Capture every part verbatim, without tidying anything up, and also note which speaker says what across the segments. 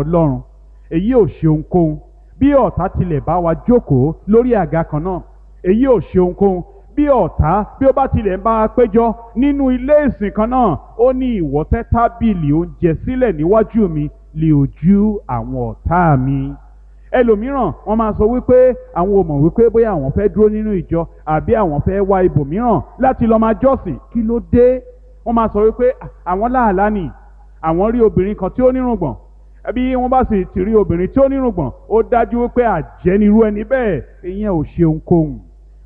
Speaker 1: Ọlọ́run, èyí ò ṣe ohunkóhun. Bí ọ̀tá tilẹ̀ bá wa jókòó lórí àga kan náà, èyí ò ṣe ohunkóhun. Bí ọ̀tá bí ó bá tilẹ̀ ń bá wa péjọ nínú ilé ìsìn kan náà, ó ní ìwọ tẹ́ tábìlì oúnjẹ sílẹ̀ níwájú mi lé ojú àwọn ọ̀tá mi. Ẹlòmíràn wọ́n máa sọ wípé àwọn ò mọ̀ wípé bóyá àwọn fẹ́ dúró nínú ìjọ àbí àwọn fẹ́ wá ibòmíràn láti lọ máa jọ́sìn. Kí ló dé? Wọ́n máa sọ wípé àwọn láàlá nì, àwọn rí obìnrin kan tí ó nírùngbọ̀n. Bí wọ́n bá sì ti rí obìnrin tí ó nírùngbọ̀n, ó dájú wípé àjẹ́ nirú ẹni bẹ́ẹ̀. Ìyẹn ò ṣe ohunkóhun.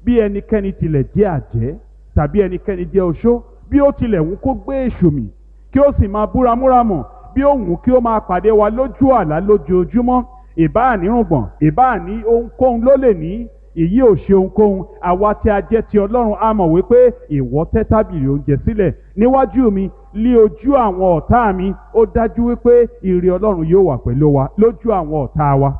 Speaker 1: Bí ẹnikẹ́ni tilẹ̀ jẹ́ àjẹ́ tàbí ẹnikẹ́ni jẹ́ oṣó, bí ó tilẹ̀ wù kó gbé èṣù mì kí ó sì máa búramúramù, bí ó wù kí ó máa pàdé wa lójú àlá lójoojúmọ́, ìbáà nírùngbọ̀n, ìbáà ní ohunkóhun ló lè ní, èyí ò ṣe ohunkóhun. Àwa tí a jẹ́ ti Ọlọ́run a mọ̀ wípé ìwọ tẹ́ tábìlì oúnjẹ sílẹ̀ níwájú mi lí ojú àwọn ọ̀tá mi. Ó dájú wípé ire Ọlọ́run yóò wà pẹ̀lú wa lójú àwọn ọ̀tá wa.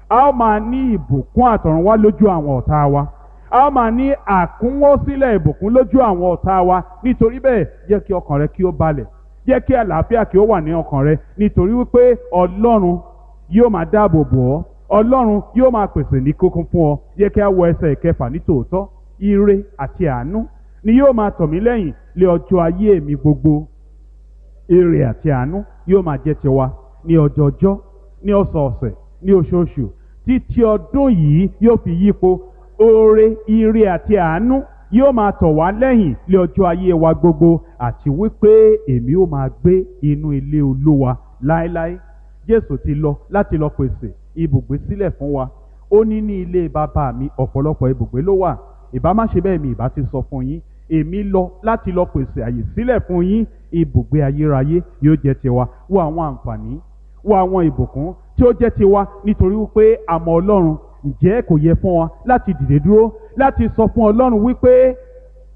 Speaker 1: A ó máa ní ìbùkún àtọ̀run wá lójú àwọn ọ̀tá wa. A ó máa ní àkúnwọ́sílẹ̀ ìbùkún lójú àwọn ọ̀tá wa. Nítorí bẹ́ẹ̀, jẹ́ kí ọkàn rẹ kí ó balẹ̀, jẹ́ kí àlàáfíà kí ó wà ní ọkàn rẹ, nítorí wípé Ọlọ́run yóò máa dáàbò bò ọ́, Ọlọ́run yóò máa pèsè ní kókún fún ọ. Yẹ kí a wọ ẹsẹ̀ ìkẹfà ní tòótọ́. Ire àti àánú ni yóò máa tọ̀ mí lẹ́yìn lé ọjọ́ ayé mi gbogbo. Ire àti àánú yóò máa jẹ́ tiwa ní ọjọọjọ́, ní ọ̀sọ̀ọ̀sẹ̀, ní oṣooṣù, títí ọdún yìí yóò fi yípo. Oore, ire àti àánú yóò máa tọ̀ wá lẹ́yìn lé ọjọ́ ayé wa gbogbo, àti wípé èmi ó máa gbé inú ilé Olúwa láéláé. Jésù ti lọ láti lọ pèsè ibùgbé sílẹ̀ fún wa. Ó ní ní ilé bàbá mi ọ̀pọ̀lọpọ̀ ibùgbé ló wà. Ìbá má ṣe bẹ́ẹ̀ mi ìbá ti sọ fún yín. Èmi lọ láti lọ pèsè àyè sílẹ̀ fún yín. Ibùgbé ayérayé yóò jẹ́ tiwa. Wo àwọn àǹfààní, wo àwọn ìbùkún tí ó jẹ́ tiwa nítorí wípé a mọ Ọlọ́run. Ǹjẹ́ kò yẹ fún wa láti dìde dúró láti sọ fún Ọlọ́run wípé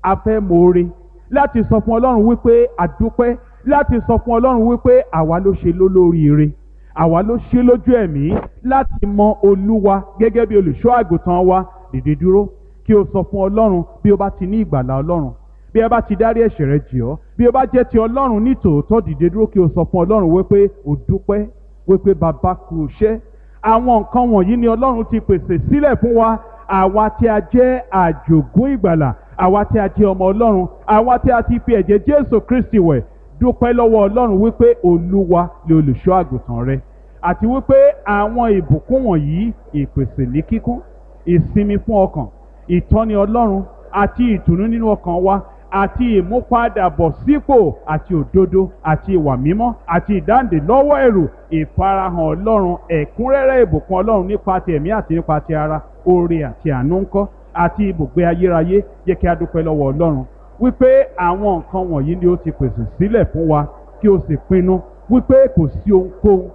Speaker 1: a fẹ́ moore, láti sọ fún Ọlọ́run wípé a dúpẹ́, láti sọ fún Ọlọ́run wípé àwa ló ṣe lólóríire, àwa ló ṣe lójú ẹ̀mí láti mọ Olúwa gẹ́gẹ́ bí olùṣọ́ àgùntàn wa. Dìde dúró kí o sọ fún Ọlọ́run bí o bá ti ní ìgbàlà Ọlọ́run, bí ẹ bá ti dárí ẹ̀ṣẹ̀ rẹ jì ọ́, bí o bá jẹ́ ti Ọlọ́run ní tòótọ́. Dìde dúró kí o sọ fún Ọlọ́run wípé o dúpẹ́, wípé bàbá kú iṣẹ́. Àwọn nǹkan wọ̀nyí ni Ọlọ́run ti pèsè sílẹ̀ fún wa, àwa tí a jẹ́ àjògún ìgbàlà, àwa tí a jẹ́ ọmọ Ọlọ́run, àwa tí a ti fi ẹ̀jẹ̀ Jésù Kristi wẹ̀. Dúpẹ́ lọ́wọ́ Ọlọ́run wípé Olúwa ni olùṣọ́ àgùntàn rẹ, àti wípé àwọn ìbùkún wọ̀nyí, ìpèsè ní kíkún, ìsinmi fún ọkàn, ìtọ́ni Ọlọ́run àti ìtùnú nínú ọkàn wa, àti ìmúpadàbọ̀sípò àti òdodo àti ìwà mímọ́ àti ìdáǹdè lọ́wọ́ ẹ̀rù, ìfarahàn Ọlọ́run, ẹ̀kúnrẹ́rẹ́ ìbùkún Ọlọ́run nípa ti ẹ̀mí àti nípa ti ara, oore àti àánú ńkọ́, àti ibùgbé ayérayé. Jẹ́ kí a dúpẹ́ lọ́wọ́ Ọlọ́run wípé àwọn nǹkan wọ̀nyí ni ó ti pèsè sílẹ̀ fún wa, kí o sì pinnu wípé kò sí ohunkóhun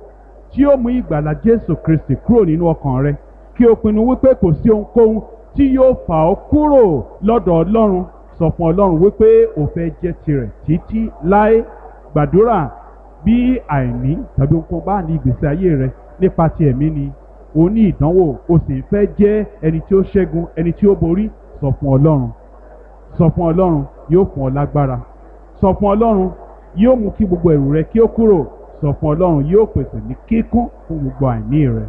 Speaker 1: tí ó mú ìgbàlà Jésù Kristi kúrò nínú ọkàn rẹ, kí o pinnu wípé kò sí ohunkóhun tí yóò fà ọ́ kúrò lọ́dọ̀ Ọlọ́run. Sọ fún Ọlọ́run wípé o fẹ́ jẹ́ tirẹ̀ títí láé. Gbàdúrà bí àìní tàbí ohunkóhun bá ní ìgbésí ayé rẹ nípa ti ẹ̀mí ni o ní ìdánwò, o sì ń fẹ́ jẹ́ ẹni tí ó ṣẹ́gun, ẹni tí ó borí. Sọ fún Ọlọ́run, sọ fún Ọlọ́run, yóò fún ọ lágbára. Sọ fún Ọlọ́run, yóò mú kí gbogbo ẹ̀rù rẹ kí ó kúrò. Sọ fún Ọlọ́run, yóò pèsè ní kíkún fún gbogbo àìní rẹ.